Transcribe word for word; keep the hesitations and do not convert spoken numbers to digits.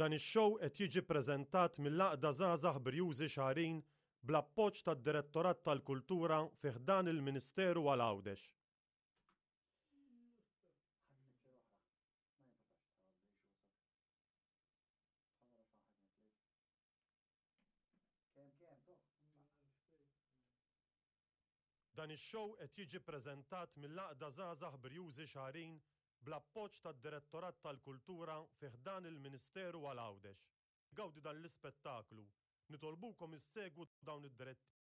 Dan ix-show qed jiġi ppreżentat mill-Għaqda Żgħażagħ Brjużi Xagħrin bl-appoġġ tad-Direttorat tal-Kultura fi ħdan il-Ministeru għal Għawdex. Dan ix-show qed jiġi ppreżentat mill-Għaqda Żgħażagħ Brjużi Xagħrin bl-appoġġ tad-Direttorat tal-Kultura fi ħdan il-Ministeru għal Għawdex. Gawdi dan l-ispettaklu, nitolbukom issegwu dawn id-direttivi.